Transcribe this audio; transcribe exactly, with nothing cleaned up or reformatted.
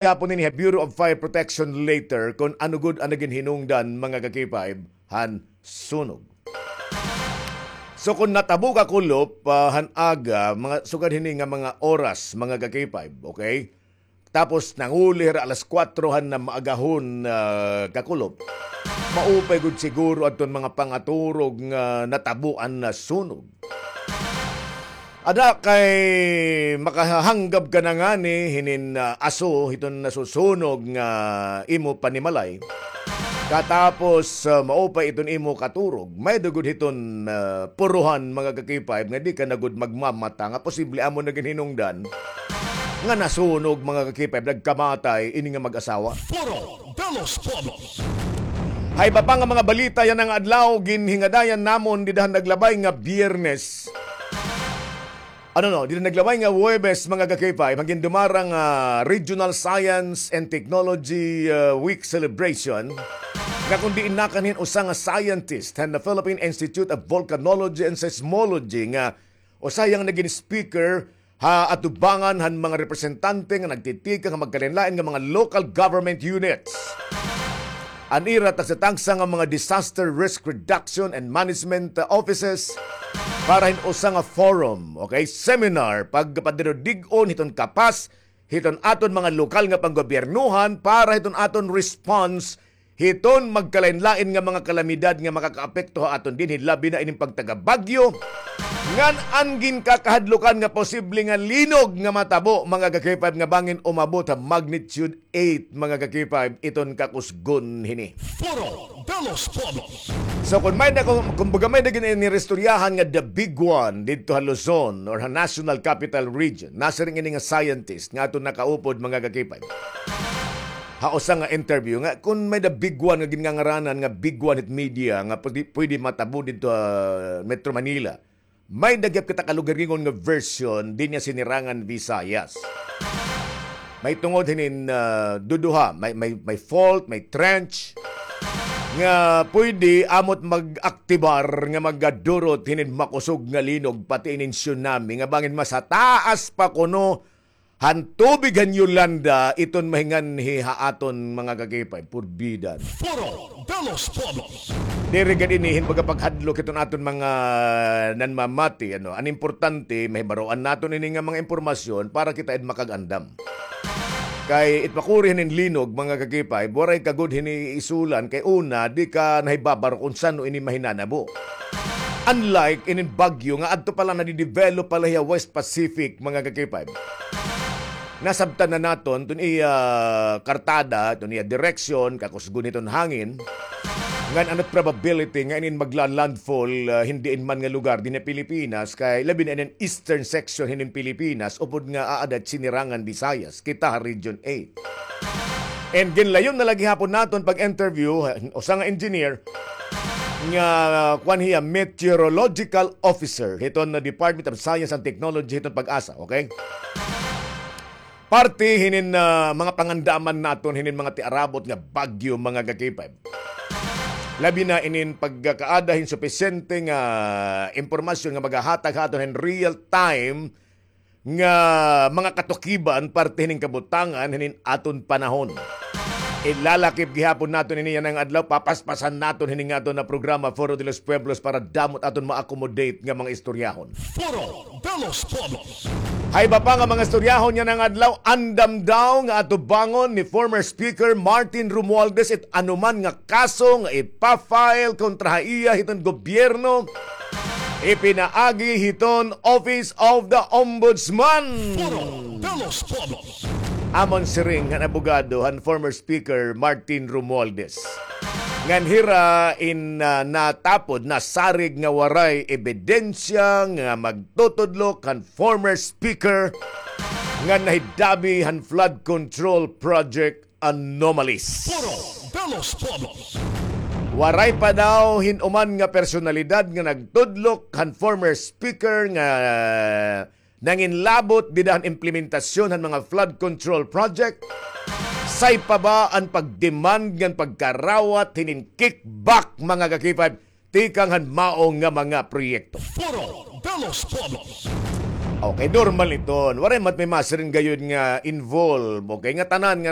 gihapon ini ha Bureau of Fire Protection later kon ano gud an nagin hinungdan, mga ka-K five, han sunog. So, kon natabo kakulop, ah, han aga, mga sugad hini nga mga oras, mga ka-K five, okay? Tapos nanguli hira alas kuwatro han maagahon, ah, kakulop. Maupay gud siguro adton mga pangaturog nga natabo an sunog. Ada kay makahanggab ka na ngani hinin, ah, aso hiton nasusunog nga imo panimalay. Katapos, ah, maupay iton imo katurog. May-ada gud hiton, ah, puruhan, mga ka-K five, nga di ka na gud magmamata nga posible amo nagin hinungdan nga nasunog, mga ka-K five, nagkamatay ini nga mag-asawa. Foro de los Pueblos. Ha iba pa nga mga balita yana nga adlaw, ginhingadayan namon dida han naglabay nga Biyernes. Ano, no, dida han naglabay nga Huwebes, mga ka-K five, an gindumara nga Regional Science and Technology, ah, Week celebration, nga kon diin nakanhi hin usa nga scientist han Philippine Institute of Volcanology and Seismology, nga usa hiya nga nagin speaker ha atubangan han mga representante nga nagtitikang ha magkalainlain nga mga local government units. An ira tagsa-tagsa nga mga disaster risk reduction and management, uh, offices para hin usa nga forum, okay, seminar, pagpadinudig-on hiton kapas hiton aton mga lokal nga panggobyernohan para hiton aton response hiton magkalainlain nga mga kalamidad nga makakaapekto ha aton dinhi, labi na ining pagtaga-bagyo, ngan an ginkakahadlukan nga posible nga linog nga matabo, mga ka-K five, nga bangin umabot ha magnitude eight, mga ka-K five, iton kakusgon hini. Foro de los Pueblos. So, kung may na, kung, kumbaga may na gin-, iniristoryahan nga the big one didto ha Luzon or ha National Capital Region, nasiring ini nga scientist nga aton nakaupod, mga ka-K five, ha usa nga interview nga kun may the big one nga ginngangaranan nga big one hit media nga pwede, pwede matabo didto ha Metro Manila, may-ada gihap kita kalugaringon nga version dinhi ha Sinirangan Visayas. May tungod hinin, ah, duduha, may, may, may fault, may trench nga pwede amo it mag-aktibar nga magadurot hinin makusog nga linog pati inin tsunami nga bangin mas hataas pa kuno han tubig han Yolanda iton mahinganhi ha aton, mga ka-K five, purbidan. Foro de los Pueblos. Diri gad ini hin pagpaghadlok hiton aton mga nanmamati, ano. An importante, mahibaroan naton ini nga mga impormasyon para kita it makag-andam. Kay it pakuri hinin linog, mga ka-K five, waray ka gud hini isulan kay una, di ka nahibabaro kon san-o ini mahinanabo. Unlike inin bagyo nga adto pa la nadidevelop pa la hiya West Pacific, mga ka-K five. Nasabtan na naton iton iya kartada, iton iya direksyon, kakusgon hiton hangin. Ngan ano it probability nga inin magla-landfall, ah, hin diin man nga lugar dinhi ha Pilipinas, kay labi na inin eastern section hinin Pilipinas, upod nga aada it Sinirangan Visayas, kita ha Region eight. And ginlayon na la gihapon naton pag-interview, ah, usa nga engineer, nga, kuan hiya, meteorological officer hiton Department of Science and Technology hiton PAGASA, okay? Parte hinin, ah, mga pangandaman naton hinin mga tiarabot nga bagyo, mga ka-K five. Labi na inin pagkakaada hin supisyente nga impormasyon nga magahatag ha aton hin real time nga mga katukiban parte hinin kabutangan hinin aton panahon. Ilalakip gihapon naton ini yana nga adlaw, papaspasan naton hini nga aton nga programa, Foro de los Pueblos, para damo it aton ma-accommodate nga mga istoryahon. Foro de los Pueblos. Ha iba pa nga mga istoryahon yana nga adlaw, andam daw nga atubangon ni former Speaker Martin Romualdez it anoman nga kaso nga ipa-file kontra ha iya hiton gobyerno, ipinaagi hiton Office of the Ombudsman. Foro de los Pueblos. Amon siring han abogado han former Speaker Martin Romualdez, ngan hira in, ah, natapod, nasarig nga waray ebidensya nga magtutudlok han former Speaker nga nahidabi han flood control project anomalies. Foro de los Pueblos. Waray pa daw hin-uman nga personalidad nga nagtudlok han former Speaker nga nanginlabot dida han implementasyon han mga flood control project. Say pa ba an pag-demand ngan pagkarawat hinin kickback, mga ka-K five, tikang han mao nga mga proyekto? Foro de los Pueblos. Okay, normal iton. Waray man may masiring gayod nga involve. Okay, nga tanan nga